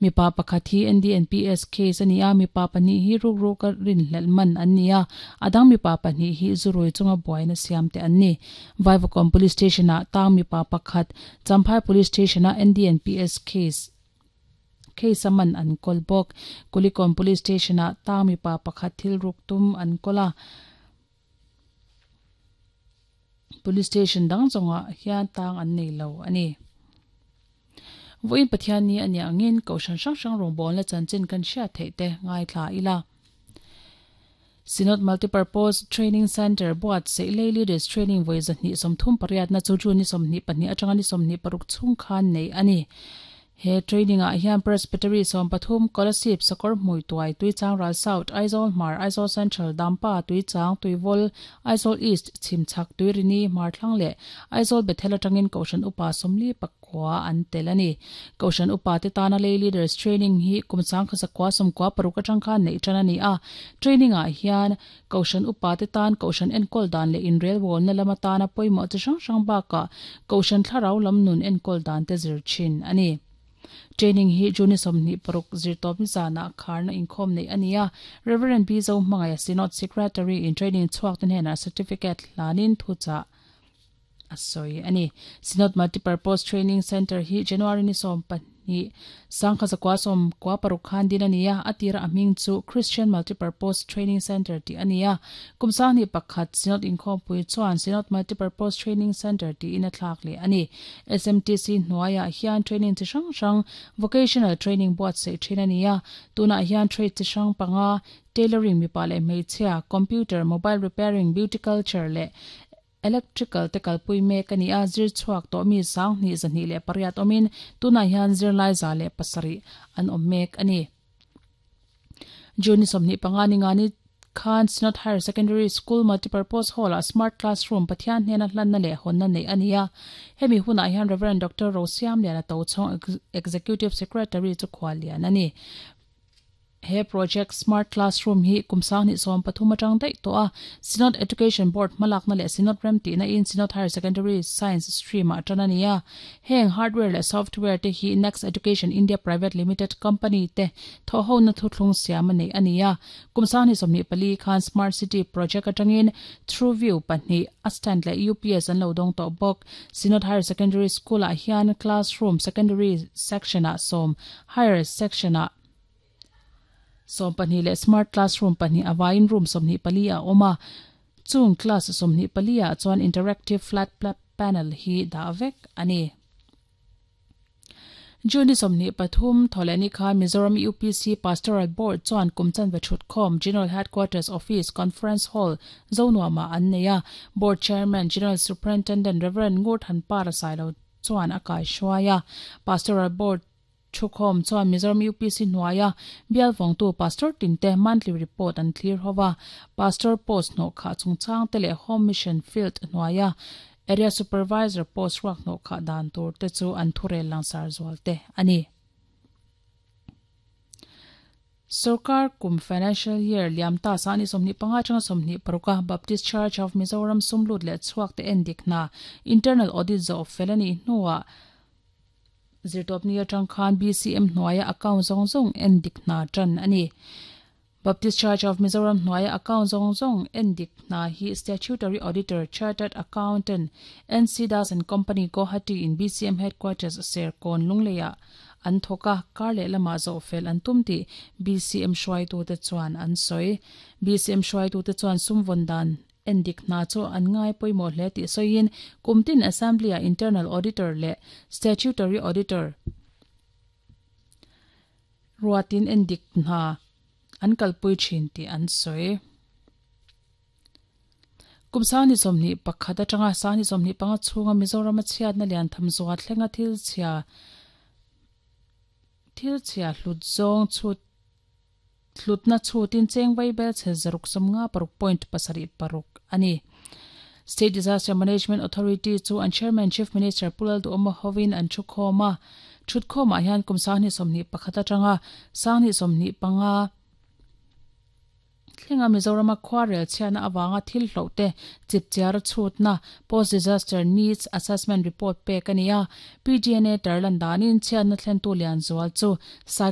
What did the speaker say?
Mipa pakhat hi NDNPS case a ni a, mipa pahnih hi rukruka rinhlelh man an ni a, a dang mipa pahnih hi zurui chunga buaina siam te an ni. Vaivakawn Police Station-ah tang mipa pakhat Champhai Police Station-a NDNPS case case a man an kawl bawk. Kulikawn Police Station-ah tang mipa pakhat thil ruk tum an kawl a, Police Station dang zawngah hian tang an nei lo a ni. Vawiin Pathian ni a nih angin Kohhran hrang hrang rawngbawlna chanchin kan hriat theih te ngaithla ila. Synod Multipurpose Training Centre buatsaih Lay Leaders Training vawi 238 na chu June ni 22 atanga ni 26 chhung khan nei a ni. He training ah hian Presbytery 13, Kolasib, Sakawr Hmui Tuai, Tuichang Ral South, Aizawl Hmar, Aizawl Central, Dampa, Tuichang, Tuivawl, Aizawl East, Chhimchhak, Tuirini, Hmarthlang leh Aizawl Bethel atangin Kohhran Upa 44 an tel a ni. Kohhran Upa te tana Lay Leaders Training hi kum 1996 atang khan neih tan a ni a. Training ah hian Kohhran Upa te tan Kohhran enkawl dan leh inrelbawlna lam atana pawimawh chi hrang hrang bakah Kohhran thlarau lam nun enkawl dan te zir thin a ni. Training hi June 26 zirtawp nizanah kharna inkhawm neih a ni a, Rev. B Zohmangaia Synod Secretary in training chhuak te hnenah certificate hlanin thuchah a sawi a ni. Synod Multipurpose Training Centre hi January ni 12, 1996 khan din a ni a, a tira a hming chu Christian Multipurpose Training Centre tih a ni a. Kum 21 Synod inkhawmpui chuan Synod Multipurpose Training Centre tiin a thlak leh a ni. SMTC hnuaiah hian training chi hrang hrang, vocational training buatsaih thin a ni a, tunah hian trade chi hrang panga, tailoring mipa leh hmeichhia, computer, mobile repairing, beauty culture leh Electrical te kalpui mek a ni a, zir chhuak tawh mi 2208 awmin tunah hian zirlai 107 an awm mek a ni. June ni 25 ni nga ni khan Synod Higher Secondary School Multipurpose Hall-ah Smart Classroom Pathian hnena hlanna leh hawnna neih a ni a. Hemi hunah hian Rev. Doctor Rosiamliana Tochhawng Executive Secretary chu khuallian a ni. He project Smart Classroom hi kum 2013 atang daih tawh a, Synod Education Board hmalakna leh Synod rem tihna in Synod Higher Secondary Science stream ah tan a ni a. Heng hardware leh software te hi Next Education India Private Limited company te thawhhona thuthlung siam a neih a ni a. Kum 2024 khan Smart City project atangin TrueView pahnih, a stand leh UPS an lo dawng tawh bawk. Synod Higher Secondary School ah hian classroom secondary section ah sawm, higher section ah 12 leh smart classroom pahnih a vaiin room 24 a awm a, chung class 24 ah chuan interactive flat panel hi dah vek a ni. June ni 23 thawhlehni khan Mizoram UPC Pastoral Board chuan kum chanve thutkhawm General Headquarters Office Conference Hall Zonuamah an nei a, Board Chairman General Superintendent Rev Ngurthanpara Sailo chuan a kaihruai a, Pastoral Board Thukhawm chuan Mizoram UPC hnuaia bial vawngtu Pastor tinte monthly report an thlir ho a, Pastor post hnawhkhah chungchang te leh Home Mission Field hnuaia Area Supervisor post ruak hnawhkhah dan tur te chu an thurel langsar zual te a ni. Sorkar kum financial year liam ta sani 25 atanga 26 a Baptist Church of Mizoram sumlut leh chhuak te endik hna internal audit zawh fel a nih hnuah Zirtawpni atang khan BCM hnuaia account zawng zawng en dik hna tan a ni. Baptist Church of Mizoram hnuaia account zawng zawng en dik hna hi Statutory Auditor, Chartered Accountant, NC Das and Company, Guwahati in BCM Headquarters Serkawn Lungleiah an thawk a, kar leh lamah zawh fel an tum tih BCM hruaitute chuan an sawi. BCM hruaitute chuan sum vawn dan Endik hna chu an ngai pawimawh hle tih sawiin kum tin Assembly-ah Internal Auditor leh Statutory Auditor ruatin endik hna an kalpui thin tih an sawi. Kum 2021 atanga 2025 chhunga Mizorama chhiatna lian tham zuah thlenga thil chhia thil chhia hlut zawng chhut Hlutna chhutin cheng vaibel chhe 656.76 a ni. State Disaster Management Authority chu an Chairman Chief Minister Pu Lalduhawma hovin an thukhawm a. Thutkhawmah hian kum 2021 atanga 2025 thlenga Mizorama khuarel chhiatna avanga thil hloh te chipchiar chhutna Post Disaster Needs Assessment Report pek a ni a. PGNA tarlan danin chhiatna thlentu lian zual chu Cyclone.